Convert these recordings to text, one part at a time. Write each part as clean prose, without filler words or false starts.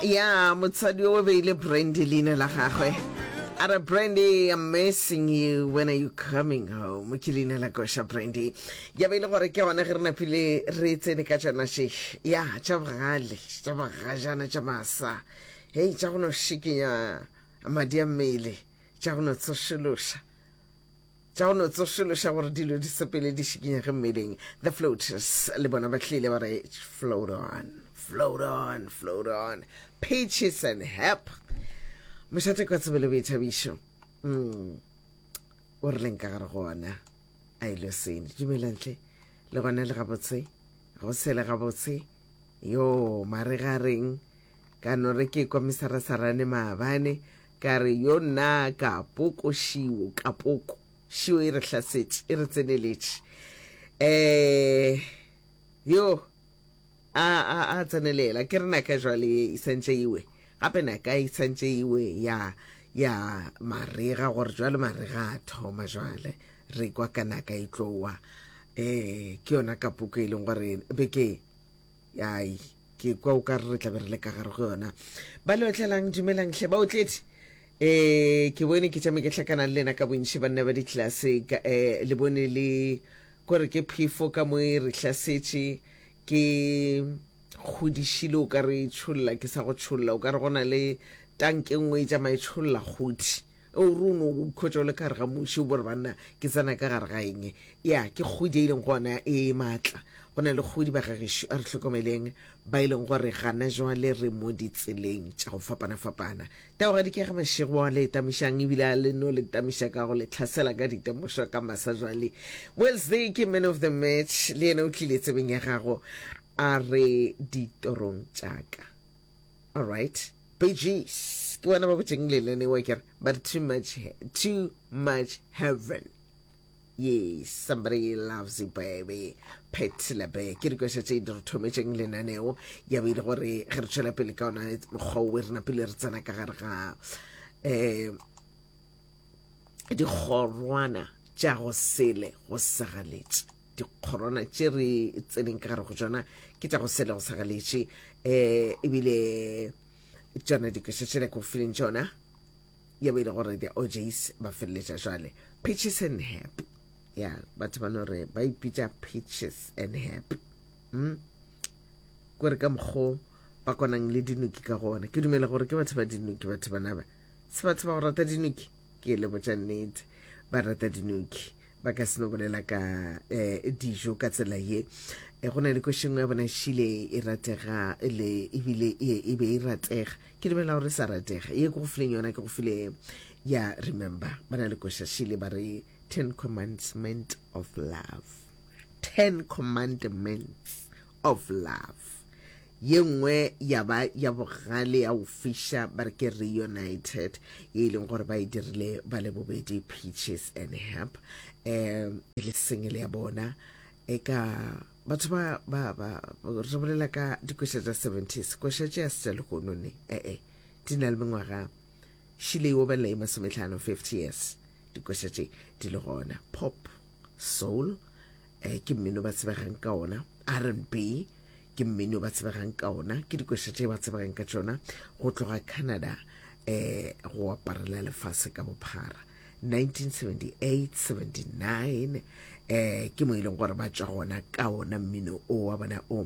Ya motswadi o beile Brandy leina la gagwe. A re Brandy, I'm missing you. When are you coming home? Ke leina la koša Brandy. Ya be e le gore ke gona ge re napile re tsene ka tšona še. Ya, tša bogale, tša bogajana, tša masa. Hei, tša go no šikinya madi a mmele, tša go no tsošološa. Tša go no tsošološa gore dilo di sepele di šikinyege mmeleng. The Floaters le bona ba tlile ba re float on, float on, float on. Peaches and Hep. Mošate kwa tsebe le boithabišo. Mm. O re leng ka gare go ona. A ile sene. Dumelang tle. Le gona le gabotse. Go sele gabotse. Yo, mare ga reng. Ka no re ke kwa mesarasarane maabane. Ka re, Yo nna kapoko šio, kapoko šio e re hlasetše, e re tseneletše. Eh, yo, a, a, a tsenelela. Ke re naka jwale ye e santše iwe. Gape naka e santše iwe ya, ya marega, gore jwale marega a thoma jwale. Re kwa ka naka e tlowa. Eh, ke yona kapoko e leng gore beke, ai, Ke kwa o ka re re tla be re le ka gare go yona. Ba le otlelang, dumelang hle baotledi. Eh, ke bone ke tšame ke hlakana le lena ka bontši banna ba ditlelase ka eh, le bone le kore ke phefo ka mo e re hlasetše ke kgodišile o ka re e tšholla ke sa go tšholla o ka re go na le tanke nngwe e tšama e tšholla kgodi O re o no ikhwetša o le ka gare ga muši, o bo re banna ke tsena ka gare ga eng? Ya, ke kgodi e leng gona e maatla. Go na le kgodi ba gagešo, a re hlokomeleng ba e leng gore gana jwale re mo ditseleng tša go fapana-fapana. Taogadi ke ga mašego a le tamišang ebile a le no le tamiša ka go le tlhasela ka ditemošo ka masa jwale. Wednesday ke man of the match, le yena o tlile tsebeng ya gago a re ditorong tša ka. All right. Bee Gees ke bona ba botšeng lenaneo ke re but too much too much heaven. Yes, somebody loves you baby. Patti LaBelle ke dikoša tše di re thometšeng lenaneo ya be e le gore ge re tšwela pele ka ona mokgwa o re napile re tsena ka gare ga um dikgorwana tša go sele go sagaletše dikgorwana tše re tseneng ka gare go tšona ke tša go sele go sagaletše um ebile tšona dikoša tšela ke go fileng tšona ya be e le gore the ojs ba feleletša jwale peaches and hap ya batho ba no re ba ipitša peaches and hap mm? kore ka mokgo ba konang le dinoki ka gona ke dumela gore ke batho ba dinoki batho bana ba se batho ba go rata dinoki ke le botša nnete ba rata dinoki ba ka se no bolela ka eh, dijo ka tsela ye eh, go na le košengwe ya bona šile e ratega le ebile e, e be e ratega ke dumela gore e sa ratega ye ke go fileng yona ke go file ya remember ba na le koša šile ba re ten commandment of love ten commandments of love Ye nngwe ya ba ya bogale ya go fiša ba re ke Reunited ye e leng gore ba e dirile ba le bobedi Peaches and Herb um e le single ya bona e ka batho ba ba ba re bolela ka dikoša tša 70s koša tše ya se tša lehono ne ee di na le mengwaga šile e obelela e masometlhano 50 years dikoša tše di le gona pop soul eh, ke mmino ba tsebegang ka ona R&B ke mmino ba tsebegang ka ona ke dikoša tše ba tsebegang ka tšona go tloga Canada eh go aparela lefase ka bophara 1978 79 eh ke mo e leng gore ba tšwa gona ka ona mmino o wa bona o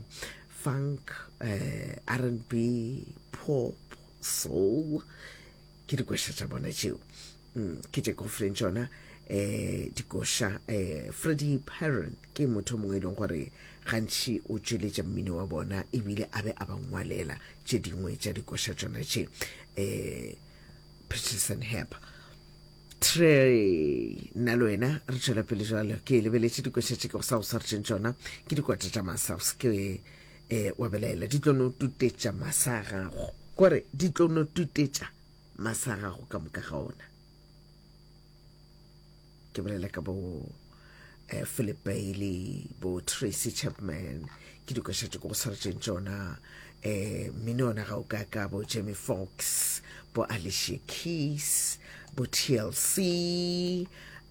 funk eh R&B pop soul ke dikoša tša bona tšeo mm, ke tše ke go fileng tšona um dikoša um Freddie Perren ke motho mongwe e leng gore gantši o tšweletša mmino wa bona ebile a be a ba ngwalela tše dingwe tša dikoša tšona tše um Peterson Hep Trey nna le wena re tšwela pele jalo ke lebeletše dikoša tše ke go sa go swaretšeng tšona ke dikwata tša masa o se ke um wa belaela di tlo no tutetša masa a gago kore di tlo no tutetša masa a gago ka moka ga ona ke bolela ka bo eh, Philip Bailey bo Tracy Chapman ke dikoša tše ko go swaretšeng tšona eh mmino ona ga o ka ka bo Jamie Foxx bo Alicia Keys bo TLC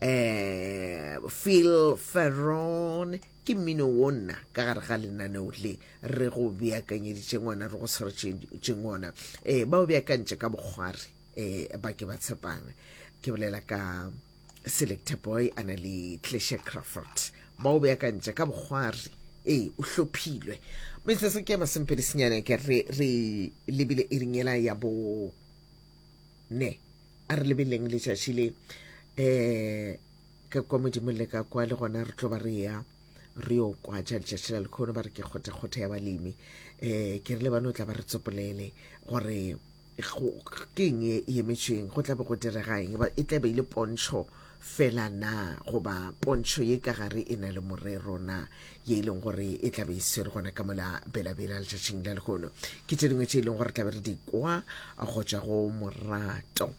eh Phil Ferron. Ke mmino wo nna ka gare ga lenaneo le re go beakanyeditšeng ona, re go swaretšeng ona. E, ba o beakantše ka bokgwari, e, ba ke ba tshepang. Ke bolela ka Selector Boy a na le Clesha Crawford. Ba o beakantše ka bokgwari, e, o hlophilwe. Metsotso ke ya masomepedi senyane ke re re lebile iring yela ya bo ne. A re lebeleng letšatši le um ka kwa modimo le ka kwa le gona re tlo ba re ya re yo kwa tša letšatši la lekgono ba re ke kgothakgotha ya balemi um ke re le bano tla ba re tsopolele gore ke eng e emetšweng go tla be go direga eng e tla be e le pontšho fela na goba pontšho ye ka gare e na le morero na ye e leng gore e tla be e swere gona ka mola belabela letšatšing la lehono ke tše dingwe tše e leng gore tla be re di kwa go tšwa go morato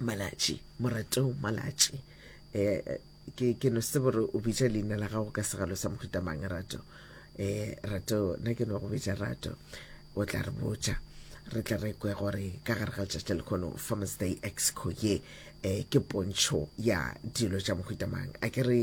malatši morato malatši um ke ke no se gore o bitša leina la gago ka segalo sa mohuta mang rato um rato nna ke no go bitša rato o tla re botša re tla re kwe gore ka gare ga letšatši la lekgono Farmers Day Exco ye um ke pontšho ya dilo tša mohuta mang a ke re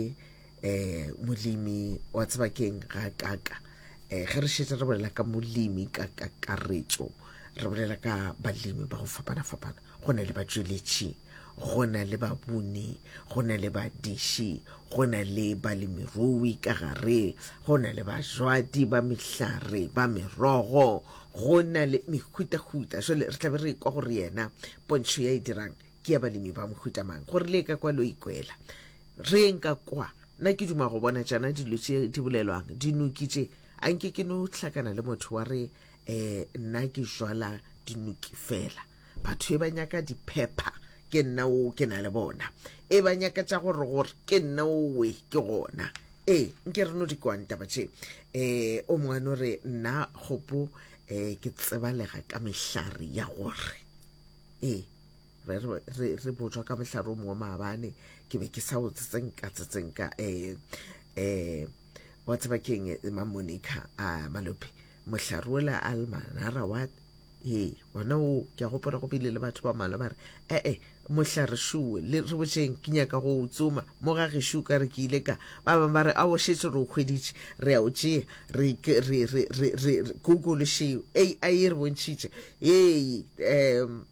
um molemi wa tseba keng ga kaka um ge re šetše re bolela ka molemi ka kakaretšo re bolela ka balemi ba go fapana-fapana go na le batšweletši go na le babuni go na le badiši go na le balemirui ka gare go na le bajwadi ba mehlare ba merogo go na le mehutahuta jale re tlabe re kwa gore yena pontšho ya e dirang ke ya balemi ba mohuta mang gore le ka kwa lo ikwela re eng ka kwa nna ke duma go bona tšana dilo tše di bolelwang dinoki tše a nke ke no hlakana le motho wa re um nna ke jwala dinoki fela batho e ba nyaka diphepha ke nna o ke na le bona e ba nyaka tša gore gore ke nna owe ke gona ee nke re no di kwang taba tše um o mongwe no re nna kgopo um ke tsebalega ka mehlare ya gore ee re re re botšwa ka mohlare o mongwe maabane ke be ke sa o tsetsenka tsetsenka um um wa tseba keng mamonica a malope mohlare ola almanara wa Ee, gona o, ke a gopola go bile le batho ba mmalwa ba re, E-e, mohlare šuwe, le re botšeng, ke nyaka go o tsoma. Mo ga gešo o ka re ke ile ka. Ba bangwe ba re, Aowa, šetše re o hweditše, re a o tšea, re, ke, re, re, re, re, re, Google šeo, AI e re bontšhitše. Ee, um,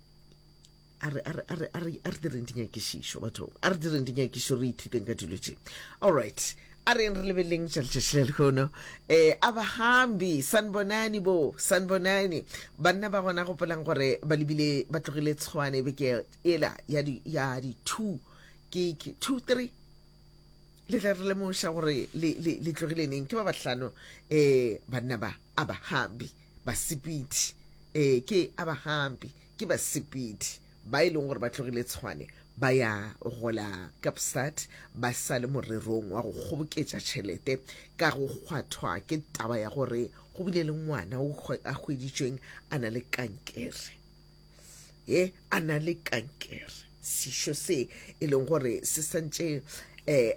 a re, a re, a re, a re, a re direng dinyakišišo, bathong, a re direng dinyakišišo, re ithuteng ka dilo tše. All right, a reng re lebeleleng tša letšatši la lehono. Um abahambi, sanibonani bo, sanibonani. Banna ba gona gopolang gore ba lebile, ba tlogile Tshwane beke ela ya di, ya di two, ke, ke two, three, le tla re lemoša gore le, le, le tlogile neng. Ke ba bahlano, um banna ba, abahambi, basepedi, um ke abahambi. Ke basepedi ba e leng gore ba tlogile Tshwane ba ya go la Kapstad ba sa le morerong wa go kgoboketša tšhelete ka go kgwathwa ke taba ya gore go bile le ngwana o a hweditšweng a na le kankere. Ye a na le kankere, sešo se e leng gore se santše um.